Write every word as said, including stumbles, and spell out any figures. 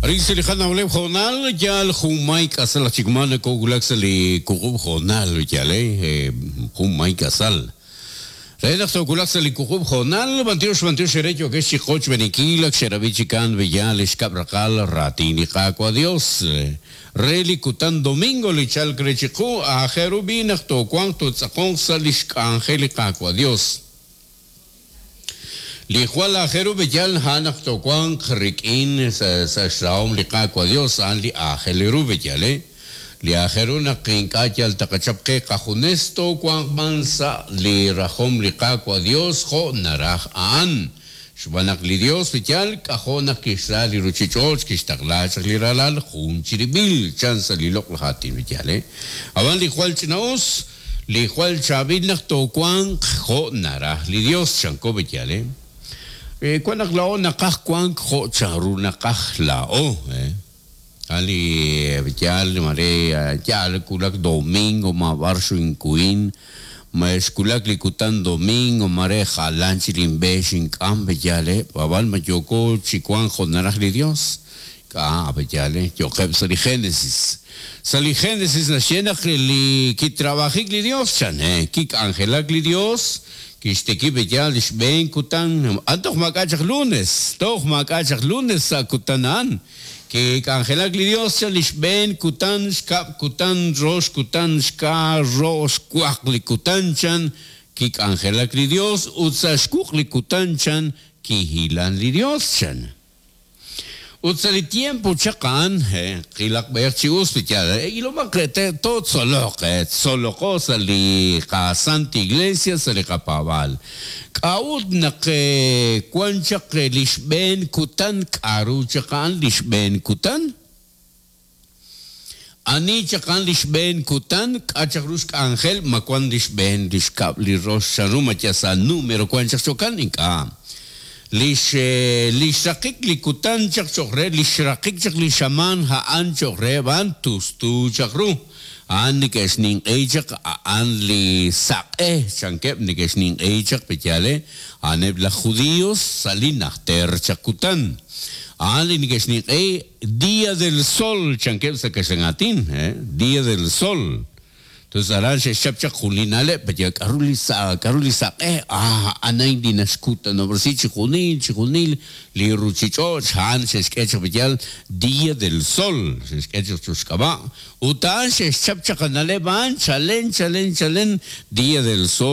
Arin sa' li qanawleb' jo'nal yal junmay k'asal aj chik ma nakowulak sa' li wuqub' jo'nal yal eh junmay k'asal. Re naq towulaq sa' li wuqub' jo'nal b'antiox b'antiox ere yokex chi qoch b'enikil ak xerab'i chikan b'eyal xkab' raqal raatin li Qaawa' Dios. Re li kutan domingo li chalk re chiqu aajel ru b'i naq toowanq tootz'aqonq sa' li xk'anjel li Qaawa' Dios. Li jwal aajel ru b'eyal a'an naq toowanq rik'in sa' sa' xrahom li Qaawa' Dios a'an li aajel ru b'eyal eh. Li aajel ru naq ink'a' yal taqachap qe qajunes toowanq b'an sa' li rajom li Qaawa' Dios jo' naraj a'an. Xb'aan naq li Dios b'eyal k'ajo' naq kixra li ruchich'och' kixtaqla chaq li ralal jun chirib'il chan sa' li loq'laj aatin b'eyal eh. Ab'an li jwal ch'ina'us li jwal chaab'il naq toowanq jo' naraj li Dios chanko b'eyal eh. Eh, wan naq la'o naqaj wank jo' chanru naqaj la'o eh. Ali yal mare yal kulak domingo ma b'ar xinkuin ma xkulak li kutan domingo mare jalan chilinb'e xink'am b'eyal eh. Ab'an ma yoko chi wank jo' naraj li Dios k'a b'eyal eh yoqeb' sa' li Génesis. Sa' li Génesis naxye naq li kitrabajik li Dios chan eh kik'anjelak li Dios kixteki b'eyal xb'een kutan antoq mak'a chaq lunes toj mak'a chaq lunes sa' kutan a'an kik'anjelak li Dios chan li xb'een kutan xkab' kutan rox kutan xka rox xwaq li kutan chan kik'anjelak li Dios ut sa' xwuq li kutan chan kihilan li Dios chan. Ut sa' li tiempo chaq a'an eh qilaq b'eer chi us b'eyal eh ilomaq te tootzoloq eh tzoloqo sa' li qasanta iglesia sa' li qapaab'aal. K'a'ut naq wan chaq li xb'een kutan k'aru chaq a'an li xb'een kutan? Ani chaq a'an li xb'een kutan k'a chaq ru xk'anjel ma wan li xb'een li xkab' li rox chanru ma yal sa' número wan chaq chokan ink'a'. Li xe li xraqik li kutan chaq choq re li xraqik chaq li xamaan a'an choq re b'an tustu chaq ru. A'an neke'xninq'ey chaq a'an li saq'e chankeb' neke'xninq'ey chaq b'eyal eh a'aneb' laj judíos sa' li najter chaq kutan. A'an li neke'xninq'ey Día del Sol chankeb' sa' kaxlan aatin eh Día del Sol. Entonces aran xe'xchap chaq jun li na'leb' b'eyal k'aru li sa' k'aru li saq'e ah a'an li naxkutan chi junil chi junil li ruchich'och' a'an xe'xk'e chaq b'eyal Día del Sol xe'xk'e chaq chuxk'ab'a' ut a'an xe'xchap chaq na'leb' a'an chalen chalen chalen Día del Sol.